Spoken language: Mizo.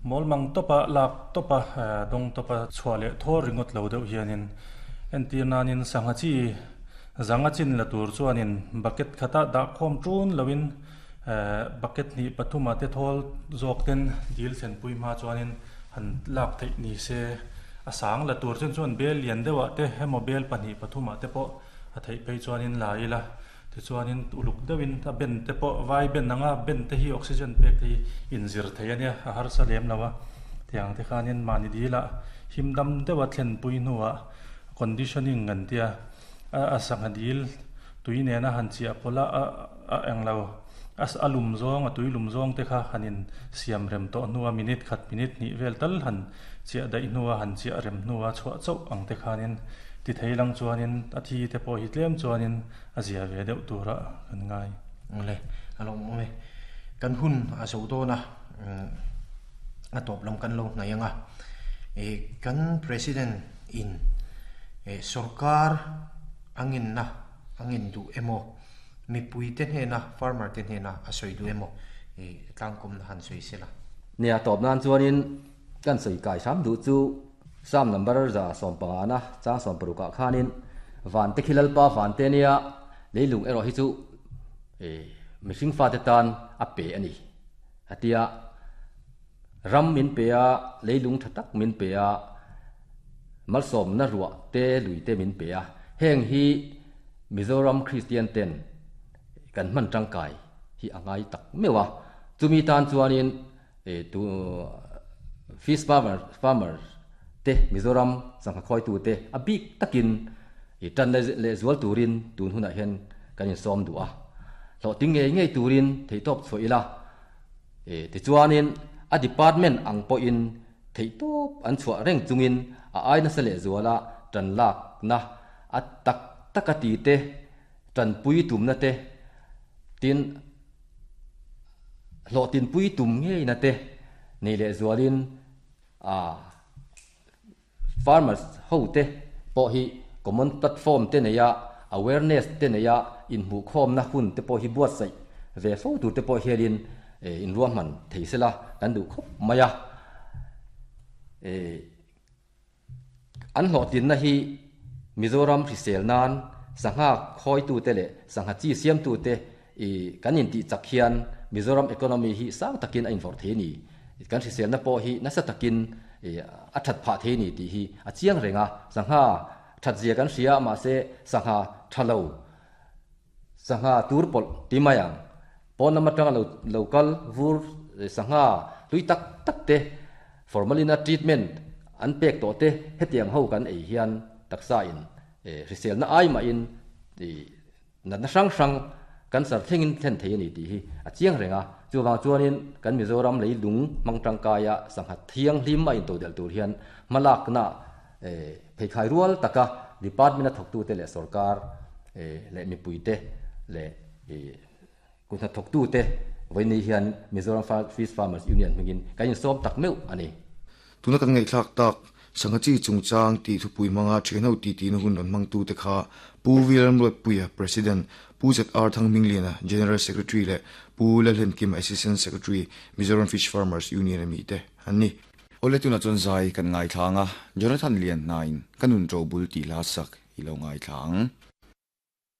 Mawlmang tawpa lak tawpa dawng tawpa chhuah leh thaw ringawt lo deuh hianin entir nanin sangha chi zanga chin la tur chuanin bucket khata dah khawm ṭun loin bucket hnih pathuma te thawl zawk ten dil thlenpui hma chuanin han lak theih ni se a sang la tur chuan chuan bel lian deuhah te emaw bel pahnih pathumah te pawh a theih phei chuanin la ila. Tichuanin uluk deuhin a ben te pawh vai ben anga ben te hi oxygen pek te hi inzir thei a nia, a harsa lem lo a. Tiang te khanin mahni dilah him dam deuha thlenpui hnuah conditioning kan tia a sangha dil tui nena han chiah pawlh a a eng lo a lum zawng a tui lum zawng te kha han in siam rem tawh hnua minute khat minute hnih vel tal han Chiah daih hnua han chiah rem hnua chhuah chauh ang te khanin ti thei lang chuanin a thi te pawh hi tlem chuanin a zia ve deuh tura kan ngai. Awle, a lo awm e. Kan hun a zo dawn a, a tawp lam kan lo hnaih ang a. Kan President in sorkar a ngenna a ngen duh emaw, mipui te hnena, farmer te hnena a sawi duh emaw tlangkawmna han sawi sela. Nia, tawp nan chuanin Kan sawi kai hram duh chu Psalm number 150 na chang 60 ah khanin Vante khi Lalpa vante nia leilung erawh hi chu mihring fate tan a pe a ni a ti a, ram min pe a, leilung tha tak min pe a, malsawmna ruah te lui te min pe a, heng hi Mizoram Kristian ten kan hman tangkai hi a ngai tak meuh a, chumi tan chuanin Tu fish farmer farmer te Mizoram sangha khawitu te a bik takin i tan leh zual turin tun hunah hian kan insawm duh a. Hlawhtling ngei ngei turin theihtawp chhuah ila. Tichuanin a department ang pawhin theihtawp an chhuah reng chungin a ai nasa leh zuala tan lakna a tak taka ti te tanpui tumna te tin Hlawhtinpui tum ngeina te nei leh zualin farmers ho te pawh hi common platform te neia awareness te neia inhmuhkhawmna hun te pawh hi buatsaih ve fo tur te pawh hianin inruahman thei sela kan duh khawp mai a. An hlawhtlinna hi Mizoram hrisel nan sangha khawitute leh sangha chi siamtute i kan intih chak hian Mizoram economy hi sang takin a invawrh thei a ni. Kan hriselna pawh hi nasa takin i a that phah thei a ni tih hi a chiang reng a. Sangha that zia kan hria a mahse sangha tha lo, sangha tur pawlh ti mai ang. Pawn lam atanga lo lo kal vur sangha hlui tak tak te formalin a treatment an pek tawh te hetiang ho kan ei hian taksa in hriselna ai mahin natna hrang hrang cancer thlengin thlen thei a ni tih hi a chiang reng a. Chuvang chuanin kan Mizoram leilung hmang tangkaia sangha thianghlim a intodelh tur hian hmalakna pheikhai rual taka department a thawktute leh sorkar leh mipuite leh Kut hnathawktute vawiin hian Mizoram Fish Farmers Union hmingin kan insawm tak meuh a ni. Tuna kan ngaihthlak tak Sangha chi chungchang tih thupui hmanga thianho titihna hun rawn hmangtute kha Pu Vilalramruatpuia, President, Pu ZR Thangmingliana, General Secretary leh Pu Lalhenkima, Assistant Secretary, Mizoram Fish Farmers Union a mite an ni. Awle tunah chuan zai kan ngaithla ang a, Jonathan Lianhnain Ka nun ṭo bul tih hla sak i lo ngaithla ang.